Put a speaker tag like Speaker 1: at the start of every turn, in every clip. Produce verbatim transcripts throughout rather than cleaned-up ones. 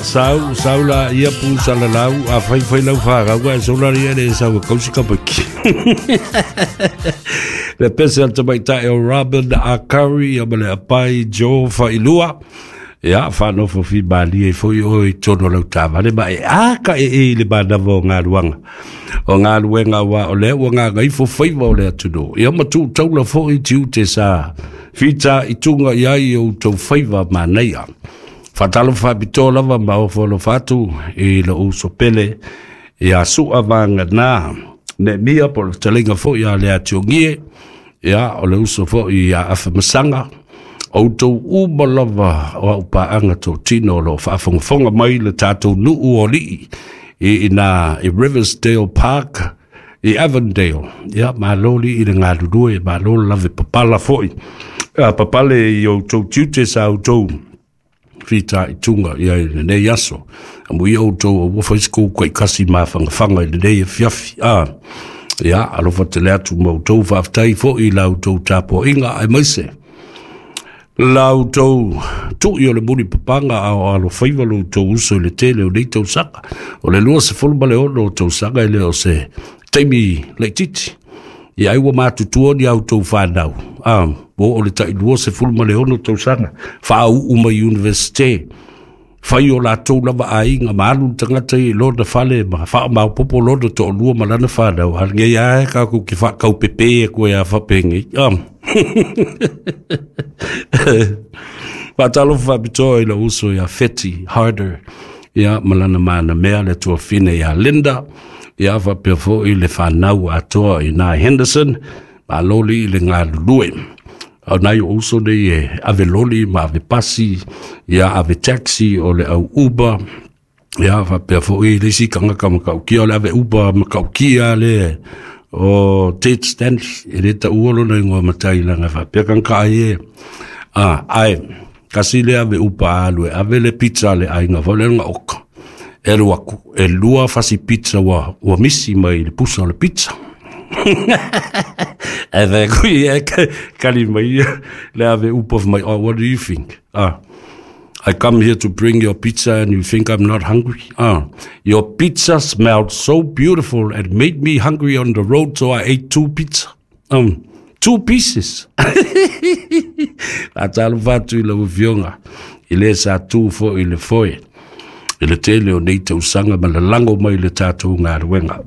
Speaker 1: sau, sau la ia pu salalau, a fai fai lau whāgau, e sola ria le sau e kausi kapaki. Le pese al tamaitai o Robin Akari, ia ma le apai Joe Failua. Ia, whanofo fi malia i foi o i tono lau tāvale, ma e aka e e i le manawa o ngā luanga. O ngā luenga wa o lea ua ngā ngaifo whaiwa o lea tuno. Ia matu taula foi ti ute sa fita i tunga i ai o tau whaiwa manaia. Whatalo whapito lava ma ofo lo whatu i lo uso pele ia sua vanga nā. Ne mia po le talinga foi a lea tiongie, ia o le uso foi ia awhamasanga. O tau uma lava o au paanga tō tino lo whaafongafonga mai le tātou nuu o lii i ina i Riversdale Park i Avondale. Ia, maloli i le ngalulue, maloli lave papala foi. A papale i o tau tiute sa o tau fita i tunga ia i le nei aso. A mui o tau o wafa isku kai kasi mawhangawhanga i le nei e fiafi. Ah, ia, alofa te le atu mau tau whaaftai foi lau tau tapo inga ai maise. Lau tau tui o le muni papanga a o alo whaiwa lo tau uso i le tele o nei tau saka. O le lua se fulu male ono o tau saka i le o se taimi leititi. Ia ai ua mātutua ni au tau whanau. Ah, mo o le tai lua se fulu male ono tau saka. Wha au uma universite. Whai o la tau lava ainga maalu tangata i lona whale ma wha mau popo lona to lua malana whanau. Hal ngei ae kaku ki wha kau pepe e koe a whapengi. Ah. Whatalofa whapitoa i la uso ia Feti Harder ia malana mana mea le tuafine ia Linda ia whapea fo i le whanau atoa i nā Henderson ma loli i le ngā lulue. Au nai o uso nei e ave loli ma ave pasi ia ave taxi o le au Uber ia whapea fo i le isi kangaka makaukia o le ave Uber makaukia le o Ted Stanley e le ta uolo na ingoa matai langa whapea kanka ai e. Ah, ai, kasi le ave upa alu e ave le pizza le ainga wale nga oka. E lua, e lua fasi pizza wa, wa misi mai le pusa o le pizza. E ve kui e kali mai le ave upa mai, oh, what do you think? Ah, I come here to bring your pizza and you think I'm not hungry? Ah, your pizza smelled so beautiful and made me hungry on the road, so I ate two pizza. Um, two pieces. A talo whatu i la ufionga. I le sa tū fo i le foe. I le tele o nei tausanga ma le lango mai le tātou ngā ruenga.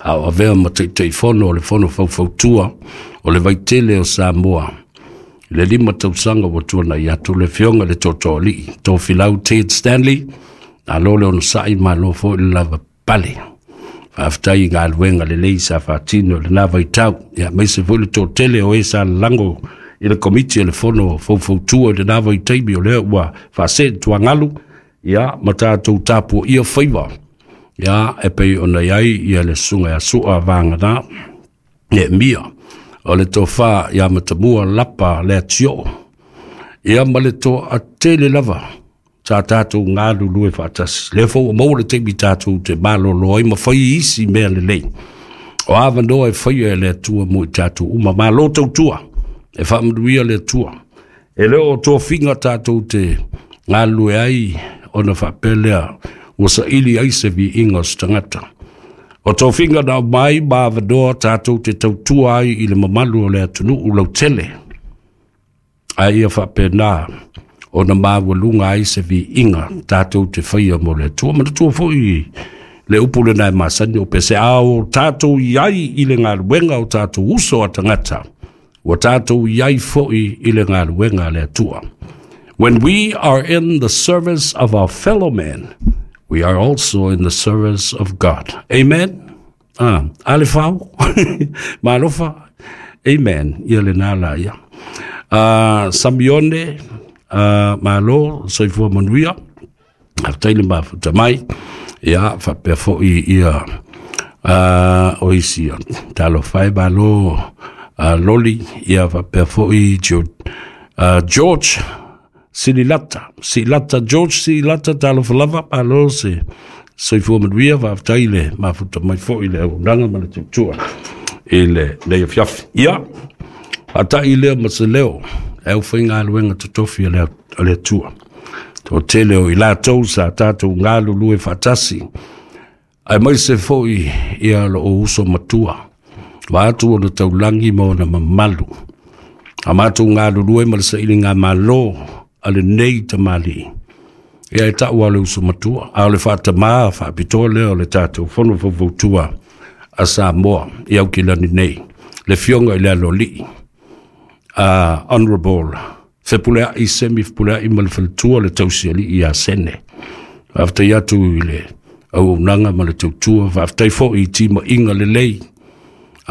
Speaker 1: A o avea ma teitei fono o le fono faufautua o le vaitele o Samoa. Le lima tausanga wa tuana i atu le fionga le tōtō tō filau Ted Stanley, nā lole ono sai ma lo fo i le lava pale. Whaaftai i ngā luenga le lei sa whātino le nā vaitau. Ia meise fo le tō tele o e sa lango i le komiti le fono faufautua i le nā vaitaimi o lea ua whaase tuangalu. Ia ma tātou tāpua ia whaiwa. Ia e pei ona iai ia le sunga ia sua vānga nā. E mia. O le tō wha ia matamua lapa lea tio. Ia ma le tō a tele lava. Tā tātou ngā lulue whaatasi. Le fau o maua le teimi tātou te malolo ai ma whai isi mea le lei. O awa noa e whai e le atua mo i tātou uma. Malo tau tua. E whaamanuia le atua. E leo o tō finga tātou te ngā lue ai ona whapelea ua sa ili ai se vi inga o stangata. O tō finga nā mai ma awa tātou te tautua ai i le mamalu o le atunu u lau tele. A ia whapena o na maua lunga ai se vi inga tātou te whaia mo le atua. Mana tua foi le upu le nai masani o pese ao tātou i ai i le ngā luenga o tātou uso a tangata. Ua tātou i ai foi i le ngā luenga le atua. When we are in the service of our fellow man, we are also in the service of God. Amen? Ah, alefau. Malofa. Amen. Ia le nā la ia. Uh, Samione, uh, malo, soifua manuia. Aftaile mafuta mai. Ia, whapea foi ia uh, o isi. Talo whai malo uh, loli. Ia, whapea foi uh, George Sililata. Silata, George Sililata, talo whalava, malo se soifua manuia, whaftaile mafuta mai foi le aunanga ma le tutua i le nei fiafi. Ia, atai lea ma se leo, e au whainga aluenga totofi a le atua. Toatele o i latou sa tatou galulue faatasi, aemaise foi ia lou uso matua, vaeatu ona taulagi ma ona mamalu. A matou galulue ma le sailigamalo a lenei tamalii, ia e tau lava o le uso matua, a o le faatamā faapitoa lea o le tatou Fono Faufautua a Samoa i Aukilani nei, le Afioga i le Aloalii, uh, Honorable Fepuleai Semi Fepuleai ma le faletua le Tausialii ia Sene. Faafetai atu i le auaunaga ma le tautua, faafetai foi i timaiga lelei.